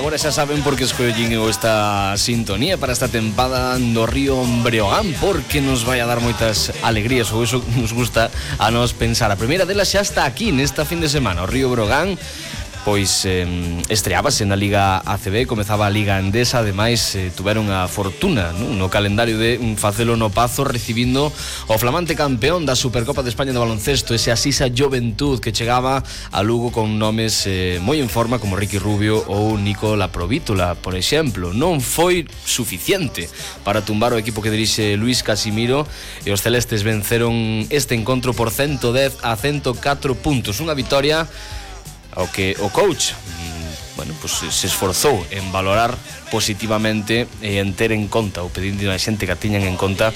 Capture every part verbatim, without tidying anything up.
agora xa saben por que escollín eu esta sintonía para esta tempada do Río Breogán, porque nos vai a dar moitas alegrías, ou iso nos gusta a nos pensar. A primeira delas xa está aquí nesta fin de semana. O Río Breogán pois eh, estreábase na Liga A C B, comezaba a Liga Endesa, ademais eh, tuveron a fortuna, non? No calendario de facelo no Pazo, recibindo o flamante campeón da Supercopa de España de baloncesto, ese Asisa Juventud, que chegaba a Lugo con nomes eh, moi en forma como Ricky Rubio ou Nico Laprovítula, por exemplo. Non foi suficiente para tumbar o equipo que dirixe Luis Casimiro, e os celestes venceron este encontro por ciento dez a ciento catro puntos, unha vitoria ao que o coach bueno, pues, se esforzou en valorar positivamente e en ter en conta, ou pedindo a xente que a tiñan en conta,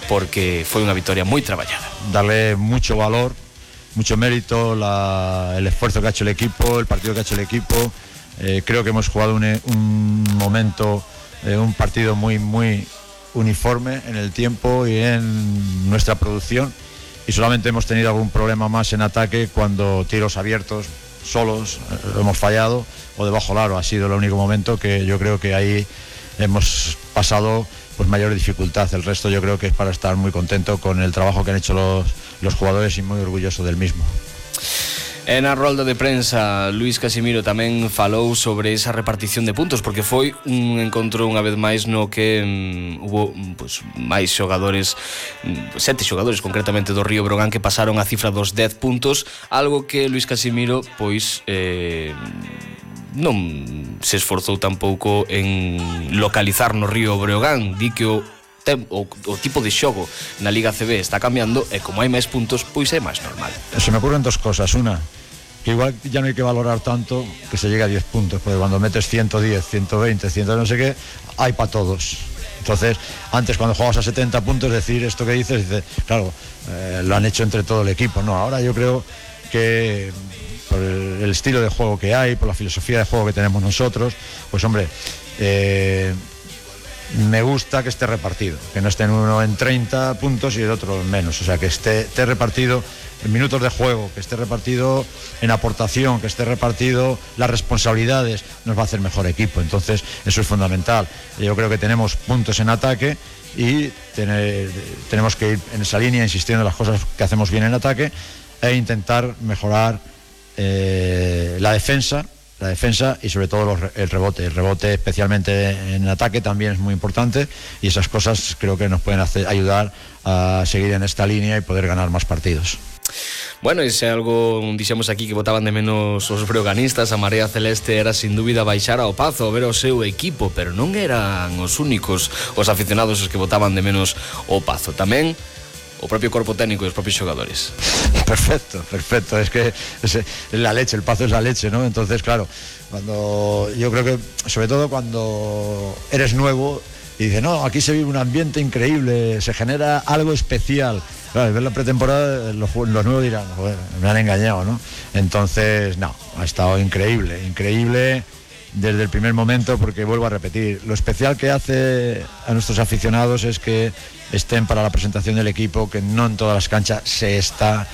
porque foi unha vitoria moi traballada. Darle mucho valor, mucho mérito, la, el esfuerzo que ha hecho el equipo, el partido que ha hecho el equipo. Eh, creo que hemos jugado un, un momento, eh, un partido muy, muy uniforme en el tiempo y en nuestra producción, y solamente hemos tenido algún problema más en ataque cuando tiros abiertos solos eh, hemos fallado, o de bajo aro. Ha sido el único momento que yo creo que ahí hemos pasado pues mayor dificultad. El resto yo creo que es para estar muy contento con el trabajo que han hecho los, los jugadores y muy orgulloso del mismo. En a rolda de prensa, Luis Casimiro tamén falou sobre esa repartición de puntos, porque foi un encontro unha vez máis no que um, hubo pues, máis xogadores, um, sete xogadores concretamente do Río Breogán, que pasaron a cifra dos dez puntos, algo que Luis Casimiro pois eh, non se esforzou tampouco en localizar no Río Breogán. Di que o O, o tipo de xogo na Liga A C B está cambiando, e como hai máis puntos, pois é máis normal. Se me ocurren dos cosas. Una, que igual ya no hay que valorar tanto que se llegue a diez puntos, porque cuando metes ciento diez, ciento veinte, cien no sé qué, hay para todos. Entonces, antes cuando jugabas a setenta puntos, decir esto que dices, dices claro, eh, lo han hecho entre todo el equipo. No, ahora yo creo que por el, el estilo de juego que hay, por la filosofía de juego que tenemos nosotros, pues hombre, eh, me gusta que esté repartido, que no esté uno en treinta puntos y el otro en menos, o sea, que esté, esté repartido en minutos de juego, que esté repartido en aportación, que esté repartido las responsabilidades, nos va a hacer mejor equipo. Entonces eso es fundamental. Yo creo que tenemos puntos en ataque y tener, tenemos que ir en esa línea, insistiendo en las cosas que hacemos bien en ataque, e intentar mejorar eh, la defensa la defensa y sobre todo los, el rebote. El rebote, especialmente en ataque, también es muy importante, y esas cosas creo que nos pueden hacer, ayudar a seguir en esta línea y poder ganar más partidos. Bueno, ese algo dixemos aquí que botaban de menos os breoganistas. A Marea Celeste era sin dúbida baixar ao Pazo a ver o seu equipo, pero non eran os únicos os aficionados os que botaban de menos o Pazo. Tamén o propio corpo técnico e os propios xogadores. Perfecto, perfecto. Es que es la leche, el Pazo es la leche, ¿no? Entonces, claro, cuando yo creo que, sobre todo cuando eres nuevo y dices, no, aquí se vive un ambiente increíble, se genera algo especial. Claro, al ver la pretemporada, los, los nuevos dirán, joder, me han engañado, ¿no? Entonces, no, ha estado increíble, increíble desde el primer momento, porque vuelvo a repetir, lo especial que hace a nuestros aficionados es que estén para la presentación del equipo, que no en todas las canchas se está,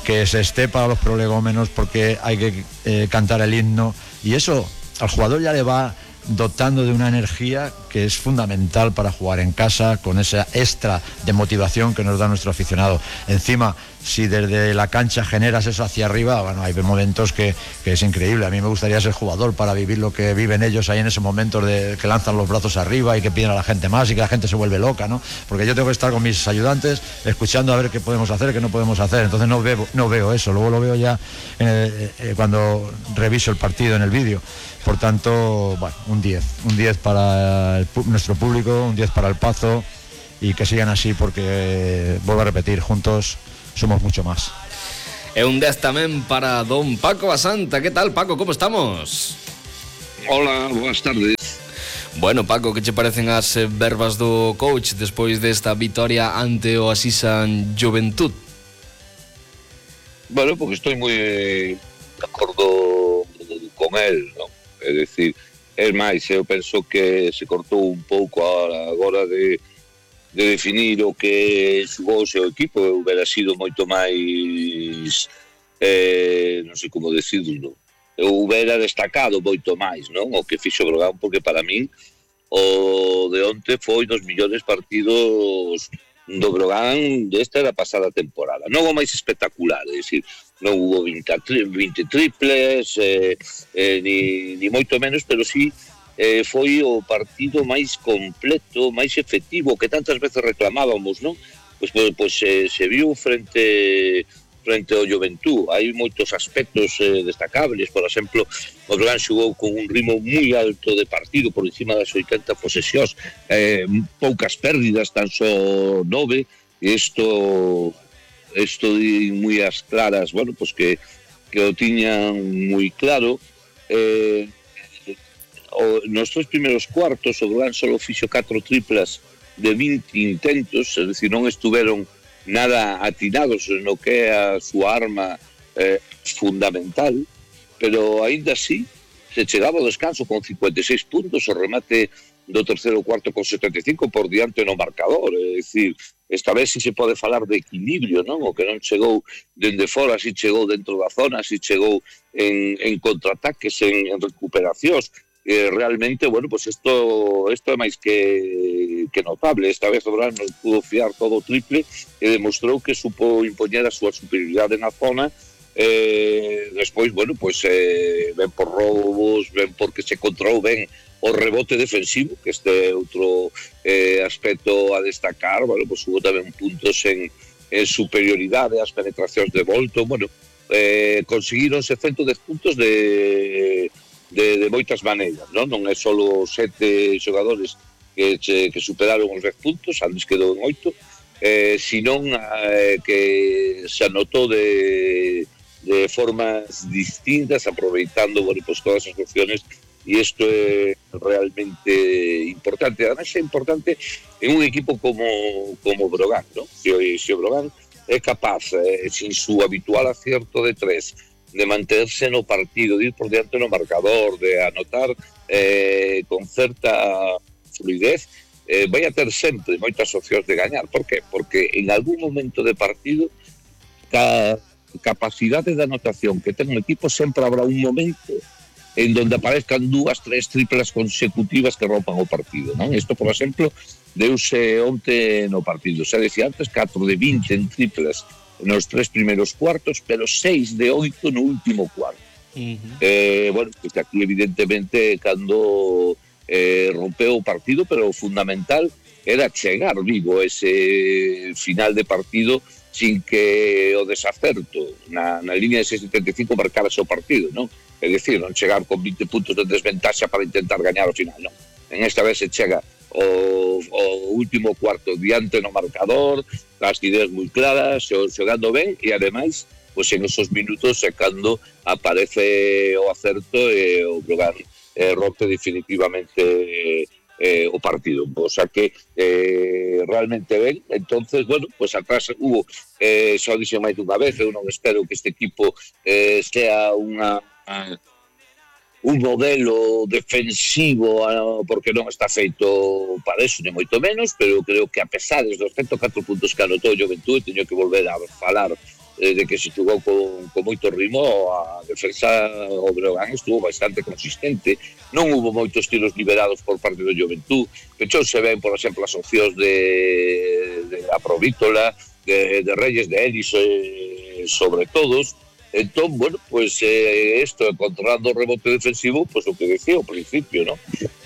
que se esté para los prolegómenos, porque hay que eh, cantar el himno, y eso al jugador ya le va dotando de una energía que es fundamental para jugar en casa, con esa extra de motivación que nos da nuestro aficionado. Encima, si desde la cancha generas eso hacia arriba, bueno, hay momentos que, que es increíble. A mí me gustaría ser jugador para vivir lo que viven ellos ahí en ese momento de que lanzan los brazos arriba y que piden a la gente más y que la gente se vuelve loca, ¿no? Porque yo tengo que estar con mis ayudantes escuchando a ver qué podemos hacer, qué no podemos hacer. Entonces no veo, no veo eso, luego lo veo ya en el, eh, cuando reviso el partido en el vídeo. Por tanto, bueno, un diez, un diez para el, nuestro público, un diez para el Pazo, y que sigan así, porque, eh, vuelvo a repetir, juntos somos mucho más. E un dez tamén para don Paco Basanta. ¿Qué tal, Paco? ¿Cómo estamos? Hola, buenas tardes. Bueno, Paco, que che parecen as verbas do coach despois desta vitoria ante o Asisa Juventud? Bueno, porque estoy moi de acordo con él, ¿no? É dicir, é máis, eu penso que se cortou un pouco agora, agora de, de definir o que xugou o seu equipo. Hubiera sido moito máis, eh, non sei como decirlo, houbera destacado moito máis, non? O que fixo Brogan, porque para min o de onte foi dos millores partidos do Brogan desta da pasada temporada. Non o máis espectacular, é dicir, non hubo vinte triples, eh, eh, ni, ni moito menos, pero sí eh, foi o partido máis completo, máis efectivo, que tantas veces reclamábamos, non? Pois, pois, pois eh, se viu frente frente ao Juventud. Hai moitos aspectos eh, destacables. Por exemplo, o Brogan xugou con un ritmo moi alto de partido, por encima das oitenta posesións, eh, poucas pérdidas, tan só nove, e isto isto di moi as claras, bueno, pues que, que o tiñan moi claro. Eh, o, nos tres primeiros cuartos o Brogan só fixo catro triplas de vinte intentos, es decir, non estuveron nada atinados no que é a súa arma eh, fundamental, pero aínda así se chegaba ao descanso con cincuenta e seis puntos, o remate do terceiro cuarto con setenta e cinco por diante no marcador, é dicir, esta vez si se pode falar de equilibrio, non? O que non chegou dende fora, si chegou dentro da zona, si chegou en, en contraataques, en, en recuperacións. Eh, realmente, bueno, pues esto, esto é máis que, que notable. Esta vez o Brogan non pudo fiar todo o triple e demostrou que supo impoñer a súa superioridade na zona. Eh, despois, bueno, pues eh, ven por roubos, ven porque se controlou ben o rebote defensivo, que este é outro eh, aspecto a destacar. Bueno, pues hubo tamén puntos en, en superioridade, as penetracións de Bolton. Bueno, eh, conseguironse ciento dez puntos de... De, de moitas maneiras, non? Non é só sete xogadores que, che, que superaron os dez puntos, antes quedou en oito, eh, senón eh, que se anotou de, de formas distintas, aproveitando, bueno, pues todas as opciones, e isto é realmente importante. Además é importante en un equipo como, como Brogan, non? Se, se o Brogan é capaz, eh, sin su habitual acierto de tres, de manterse no partido, de ir por diante no marcador, de anotar eh, con certa fluidez, eh, vai a ter sempre moitas opcións de gañar. Por qué? Porque en algún momento de partido, ca capacidade de anotación que ten un equipo, sempre habrá un momento en donde aparezcan dúas, tres triplas consecutivas que rompan o partido, non? Isto, por exemplo, deuse onte no partido. Se decía antes, catro de vinte en triplas nos tres primeiros cuartos, pero seis de oito no último cuarto. Uh-huh. eh, bueno, pues aquí evidentemente cando eh, rompeu o partido, pero o fundamental era chegar vivo ese final de partido sin que o desacerto na, na línea de seis setenta e cinco marcara o partido, non? É dicir, non chegar con vinte puntos de desventaxa para intentar gañar ao final, non? En esta vez se chega o, o último cuarto diante no marcador, as ideas moi claras, xogando ben, e ademais, pois en esos minutos é cando aparece o acerto e o Brogan eh, rompe definitivamente eh, o partido. O sea que eh, realmente ben. Entonces, bueno, pues atrás hubo, eh, xa dixen máis dunha vez, eu non espero que este equipo eh, sea unha... Uh, un modelo defensivo, porque non está feito para eso, nem moito menos, pero creo que a pesar dos ciento catro puntos que anotou o Juventud, teño que volver a falar eh, de que se jugou con, con moito ritmo, a defensa o Brogan estuvo bastante consistente, non hubo moitos tiros liberados por parte do Juventud, pechou se ven, por exemplo, as opcións de, de a Provítola, de, de Reyes, de Ellis, eh, sobre todos. Entón, bueno, pues eh, esto, controlando o rebote defensivo, pues o que decía ao principio, ¿no?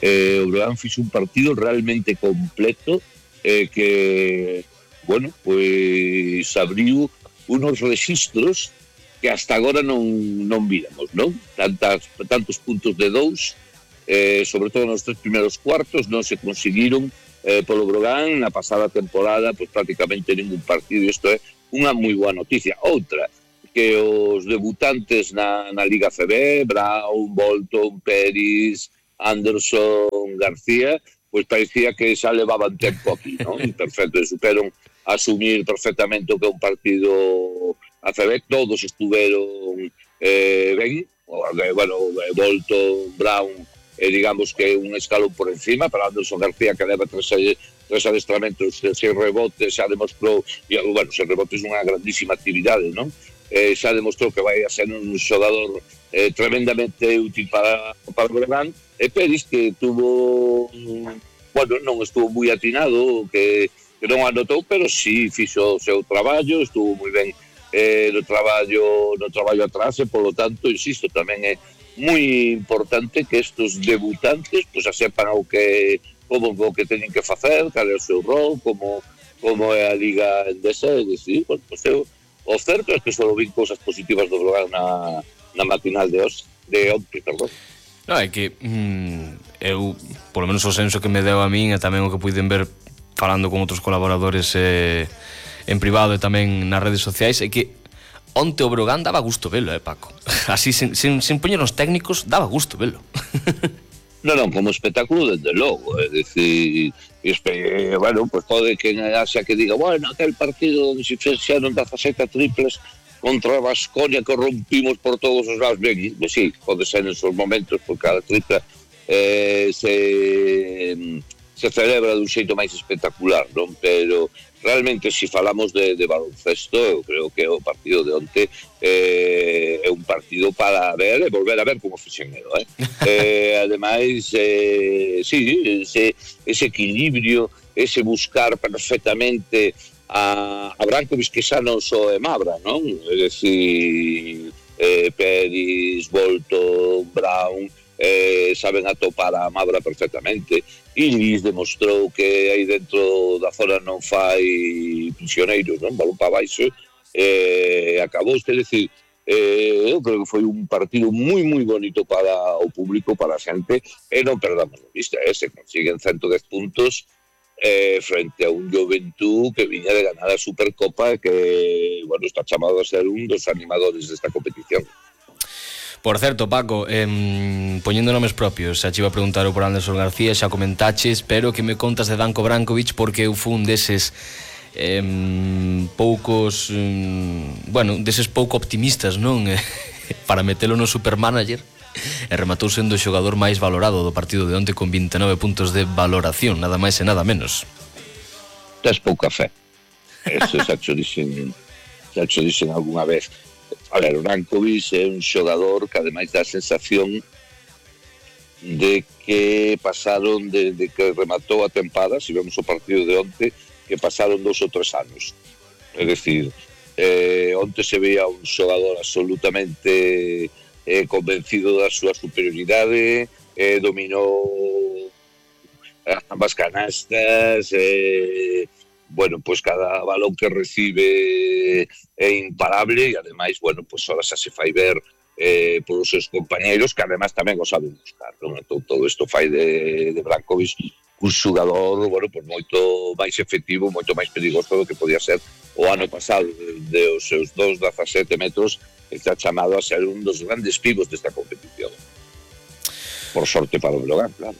Eh, o Brogan fixo un partido realmente completo eh, que, bueno, pues abriu unos registros que hasta agora non, non víramos, ¿no? Tantas, tantos puntos de dous, eh, sobre todo nos tres primeiros cuartos, non se conseguiron eh, polo Brogan na pasada temporada, pues prácticamente ningún partido, e isto é unha moi boa noticia. Outra, que os debutantes na, na Liga C B, Brown, Bolton, Peris, Anderson, García, pues parecía que xa levaban tempo aquí, ¿no? Y perfecto, superon asumir perfectamente o que é un partido A C B, todos estuveron eh, ben, bueno, Bolton, Brown, eh, digamos que un escalón por encima, pero Anderson García, que leva tres, tres adestramentos, seis rebotes, xa demostrou, e, bueno, seis rebotes é unha grandísima actividade, non? eh, xa demostrou que vai a ser un xogador eh, tremendamente útil para, para o Breogán, e Peris que tuvo, bueno, non estuvo moi atinado, que, que non anotou, pero sí fixo o seu traballo, estuvo moi ben eh, no traballo no traballo atrás, e polo tanto, insisto, tamén é moi importante que estos debutantes pues, sepan o que, como o que teñen que facer, cal é o seu rol, como, como é a Liga Endesa, e dicir, bueno, pues, eu, o certo é que só vi cousas positivas do Breogán na, na matinal de os, de onte, perdón. Non, é que mm, eu, polo menos o senso que me deu a min e tamén o que puiden ver falando con outros colaboradores eh, en privado e tamén nas redes sociais, é que onte o Breogán daba gusto velo, eh, Paco. Así, sin, sin, sin poñer os técnicos, daba gusto velo. Non, non, como espectáculo, desde logo, é dicir, espe, bueno, pues pode que en Asia que diga, bueno, aquel partido onde se fixeron dezasete triples contra Baskonia que rompimos por todos os lados, ben, ben, sí, pode ser en esos momentos, porque cada tripla eh, se, se celebra dun xeito máis espectacular, non? Pero realmente, se si falamos de, de baloncesto, eu creo que o partido de onte eh, é un partido para ver e volver a ver como fixenero, eh? eh, ademais, eh, sí, ese, ese equilibrio, ese buscar perfectamente a, a Brankovic, que xa non só é Mabra, non? É dicir, eh, Peris, Bolton, Brown, eh, saben atopar a Mabra perfectamente. Ilis demostrou que aí dentro da zona non fai prisioneiros, non? Balón para baixo, eh, acabou, é dicir, eh, eu creo que foi un partido moi moi bonito para o público, para a xente, e non perdamos a vista, eh, se consiguen ciento dez puntos eh, frente a un Juventud que viña de ganar a Supercopa e que, bueno, está chamado a ser un dos animadores desta competición. Por certo, Paco, eh, poñendo nomes propios, xa te iba a preguntar por Anderson García, xa comentaches, pero que me contas de Danko Brankovic, porque eu fun deses eh, poucos, eh, bueno, deses pouco optimistas, non? Para metelo no Supermanager, e rematou sendo o xogador máis valorado do partido de onte con vinte e nove puntos de valoración, nada máis e nada menos. Tes pouca fe. Eso xa xo dixen, xa xo dixen algunha vez. A ver, o Brankovic é un xogador que ademais dá a sensación de que pasaron desde que rematou a tempada, se vemos o partido de onte, que pasaron dos ou tres anos. É dicir, eh, onte se veía un xogador absolutamente eh, convencido da súa superioridade, eh, dominou ambas canastas, eh, bueno, pues cada balón que recibe é imparable, e ademais, bueno, pues ahora xa se fai ver eh, por os seus compañeiros, que ademais tamén o saben buscar, non? Entón, todo isto fai de, de Brankovic un xogador, bueno, pues moito máis efectivo, moito máis perigoso do que podía ser o ano pasado, de os seus dos dezasete metros, está chamado a ser un dos grandes pivos desta competición. Por sorte para o Breogán, claro.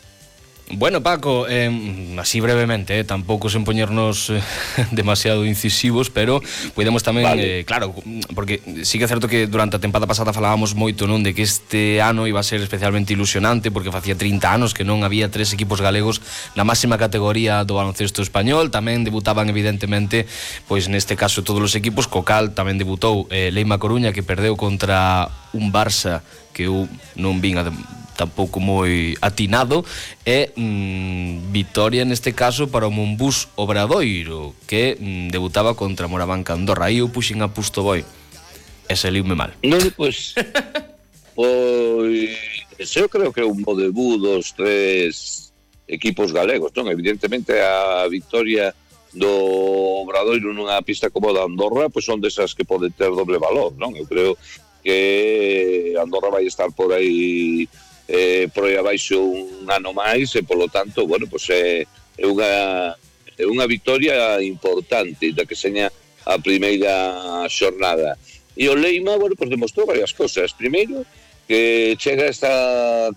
Bueno, Paco, eh, así brevemente, eh, tampouco sen poñernos eh, demasiado incisivos, pero podemos tamén, vale. eh, claro, porque sí que é certo que durante a tempada pasada falábamos moito, non, de que este ano iba a ser especialmente ilusionante, porque facía trinta anos que non había tres equipos galegos na máxima categoría do baloncesto español. Tamén debutaban evidentemente, pois neste caso todos os equipos. Co cal tamén debutou eh, Leima Coruña, que perdeu contra un Barça que eu non vin a tampouco moi atinado, e mm, vitoria neste caso para o Monbús Obradoiro, que mm, debutaba contra Morabanca Andorra. Aí eu puxen a Pusto Boi e saliume mal. Non, pois pois eu creo que é un bo debut dos tres equipos galegos, non? Evidentemente a vitoria do Obradoiro nunha pista como a da Andorra, pois son desas que poden ter doble valor, non? Eu creo que Andorra vai estar por aí eh, por aí abaixo un ano máis, e polo tanto, bueno, pois é, é unha é unha vitoria importante da que seña a primeira xornada. E o Leima, bueno, pois demostrou varias cosas. Primeiro, que chega a esta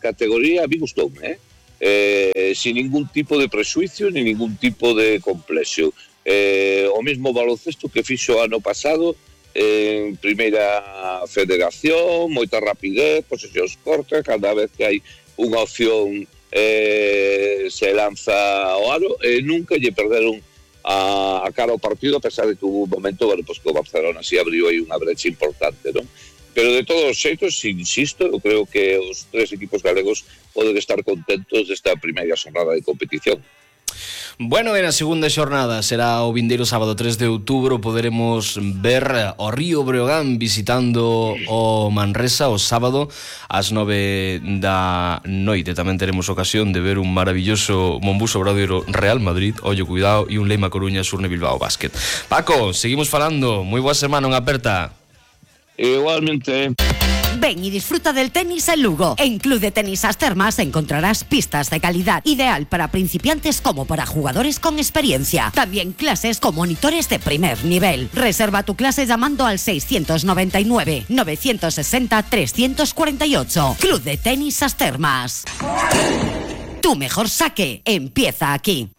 categoría, a mí gustoume, eh? Eh, sin ningún tipo de prexuicio ni ningún tipo de complexo. Eh, o mesmo baloncesto que fixo ano pasado en primeira federación, moita rapidez, posesións cortas, cada vez que hai unha opción eh, se lanza ao aro, e nunca lle perderon a, a cara ao partido, a pesar de que hubo un momento, bueno, pues que o Barcelona si abriu aí unha brecha importante, non? Pero de todos os xeitos, insisto, eu creo que os tres equipos galegos poden estar contentos desta primeira xornada de competición. Bueno, en a segunda xornada será o vindeiro sábado tres de outubro. Poderemos ver o Río Breogán visitando o Manresa o sábado ás nove da noite. Tamén teremos ocasión de ver un maravilloso Monbuso Obradoiro Real Madrid, ollo cuidado, e un Leima Coruña Surne Bilbao Basket. Paco, seguimos falando. Moi boa semana, unha aperta. Igualmente. Ven y disfruta del tenis en Lugo. En Club de Tenis As Termas encontrarás pistas de calidad, ideal para principiantes como para jugadores con experiencia. También clases con monitores de primer nivel. Reserva tu clase llamando al seiscientos noventa y nueve, novecientos sesenta, trescientos cuarenta y ocho. Club de Tenis As Termas. Tu mejor saque empieza aquí.